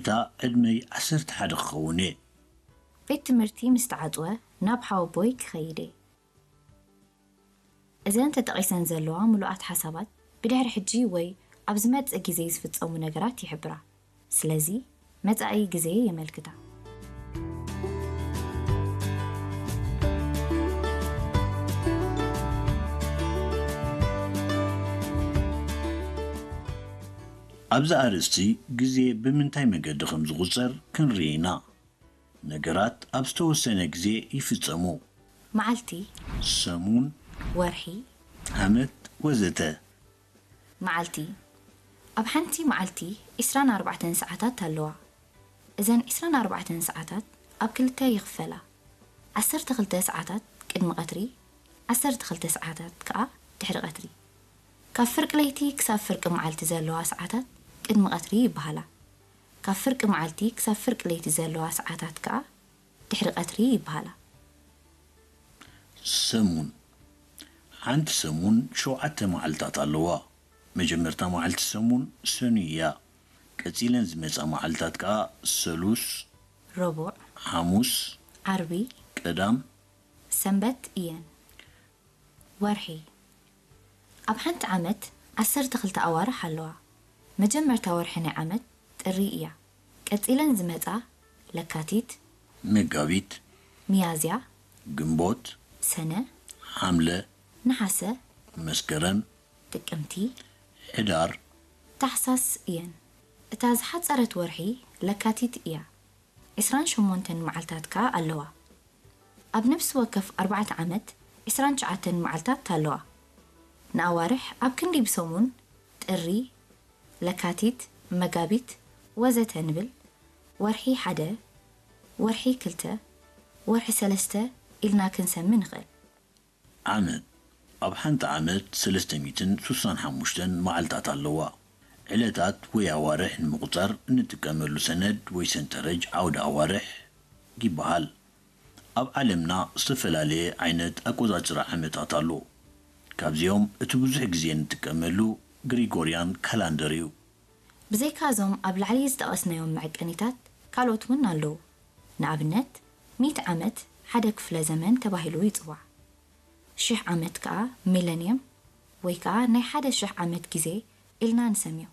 እታ ዕድመይ ዓሰርተ ሓደ ክኸውን እየ። ቤት ትምህርቲ ምስ ተዓጽወ ናብ ሓወቦይ ክኸይድ እየ። እዘን ተጠቒሰን ዘለዋ ምሉኣት ሓሳባት ብድሕሪ ሕጂ ወይ ኣብ ዝመጽእ ግዜ ዝፍጸሙ ነገራት ይሕብራ። ስለዚ መጻኢ ግዜ የመልክታ። ኣብዚ ኣርእስቲ ግዜ ብምንታይ መገዲ ከም ዝቑጸር ክንርኢ ኢና። ነገራት ኣብ ዝተወሰነ ግዜ ይፍጸሙ። መዓልቲ፣ ሰሙን፣ ወርሒ፣ ዓመት ወዘተ። መዓልቲ፣ ኣብ ሓንቲ መዓልቲ ዕስራን ኣርባዕተን ሰዓታት ኣለዋ። እዘን ዕስራን ኣርባዕተን ሰዓታት ኣብ ክልተ ይኽፈላ። ዓሰርተ ክልተ ሰዓታት ቅድሚ ቀትሪ፣ ዓሰርተ ክልተ ሰዓታት ከኣ ድሕሪ ቀትሪ። ካብ ፍርቂ ለይቲ ክሳብ ፍርቂ መዓልቲ ዘለዋ ሰዓታት ቅድሚ ቀትሪ ይበሃላ። ካብ ፍርቂ መዓልቲ ክሳብ ፍርቂ ለይቲ ዘለዋ ሰዓታት ከኣ ድሕሪ ቀትሪ ይበሃላ። ሰሙን፣ ሓንቲ ሰሙን ሸውዓተ መዓልታት ኣለዋ። መጀመርታ መዓልቲ ሰሙን ሰኑይ እያ። ቀጺለን ዝመጻ መዓልታት ከኣ ሰሉስ፣ ረቡዕ፣ ሓሙስ፣ ዓርቢ፣ ቀዳም። ሰንበት እየን። ወርሒ፣ ኣብ ሓንቲ ዓመት ዓሰርተ ክልተ ኣዋርሕ ኣለዋ። መጀመርታ ወርሒ ናይ ዓመት ጥሪ እያ። ቀጺለን ዝመጻ ለካቲት፣ መጋቢት፣ ሚያዝያ፣ ግንቦት፣ ሰነ፣ ሓምለ፣ ነሓሰ፣ መስከረም፣ ጥቅምቲ፣ ሕዳር፣ ታሕሳስ እየን። እታ ዝሓጸረት ወርሒ ለካቲት እያ። ዕስራን ሸሞንተን መዓልታት ከኣ ኣለዋ። ኣብ ነፍሲ ወከፍ ኣርባዕተ ዓመት ዕስራን ትሽዓተን መዓልታት ኣለዋ። ንኣዋርሕ ኣብ ክንዲ ብሰሙን ጥሪ፣ ለካቲት፣ መጋቢት ወዘተ ንብል። ወርሒ ሓደ፣ ወርሒ ክልተ፣ ወርሒ ሰለስተ ኢልና ክንሰሚ ንኽእል። ዓመት፣ ኣብ ሓንቲ ዓመት ሰለስተ ሚእትን ስሳን ሓሙሽተን መዓልታት ኣለዋ። ዕለታት ወይ ኣዋርሕ ንምቑጻር እንጥቀመሉ ሰነድ ወይ ሰንጠረጅ ዓውደ ኣዋርሕ ይበሃል። ኣብ ዓለምና ዝተፈላለየ ዓይነት ኣቆጻጽራ ዓመታት ኣሎ። ካብዚኦም እቲ ብዙሕ ግዜ እንጥቀመሉ ግሪጎርያን ካላንደር እዩ። ብዘይካ እዞም ኣብ ላዕሊ ዝጠቐስናዮም መዐቀኒታት ካልኦት እውን ኣለዉ። ንኣብነት፣ ሚእቲ ዓመት ሓደ ክፍለ ዘመን ተባሂሉ ይጽዋዕ። ሽሕ ዓመት ከኣ ሚለንየም ወይ ከኣ ናይ ሓደ ሽሕ ዓመት ግዜ ኢልና ንሰምዮ።